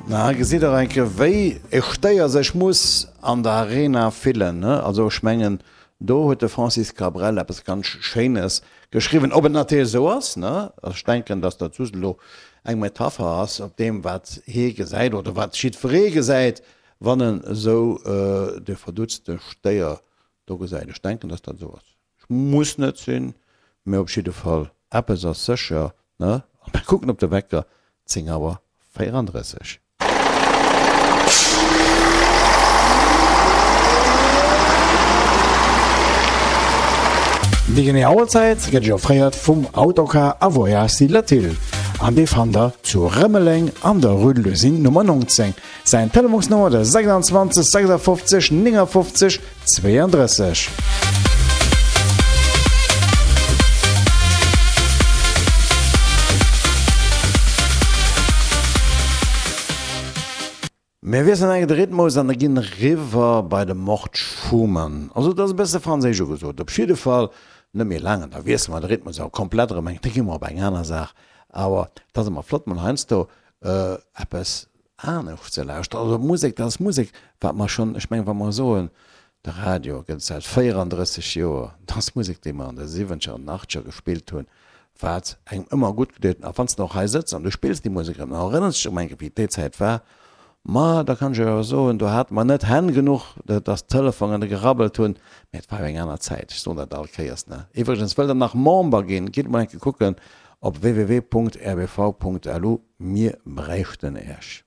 Na, gesitt der eng Kéier, wéi e Stéier sech muss an der Arena fillen, ne? Also ech mengen, do huet de Francis Cabrel eppes ganz Schéines geschriwwen. Ob et natierlech esou ass, ne? Ech denken, datt dat just elo eng Metapher ass op deem, wat hie gesäit oder wat jiddweree gesäit, wann en esou de verdutzte Stéier do gesäit. Ech denken, datt dat esou ass. Muss net sinn, mee op jidde Fall eppes ass sécher, ne? A mir kucken op de Wecker, 10 Auer 34. Déi genee Auerzäit gëtt Iech offréiert vum Autocar a Voyages Latil an dee fannt der zu Rëmeleng an der Rue de l'Usine Nummer 19. Säin Telefonsnummer de 26 56 59 32. Mir wiesselen enke de Rhythmus an ginn riwwer bei de Mort Schumann. Also et ass e bësse franséisch ugesot, op jidde Fall net méi laang an da wiessele mer de Rhythmus awer komplett erëm eng, da gi mer op eng aner Saach. Awer et ass ëmmer flott mol heiansdo eppes anescht ze lauschteren. Also Musek, dat ass Musek, wat mer schonn, ech mengen, wa mer soen, de Radio gëtt et säit 34 Joer, dat ass Musek, déi mer an de siwwenzeger an den achteger gespillt hunn, wat engem ëmmer gutt gedeet huet. A wann s de och hei sëtz an du spills déi Musek erëm, dann erënners de dech erëm eng Kéier, wéi déi Zäit war. Ma da kann ech iech awer soen, do hate mer net Hänn genuch, dass d'Telefonen gerabbelt hunn, mä et war jo eng aner Zäit. Ech soen dat all Kéiers, ne? Iwwregens, wëllt Der nach Member ginn, gitt mol eng Kéier kucken op www.rbv.lu. Mir bräichten Äech.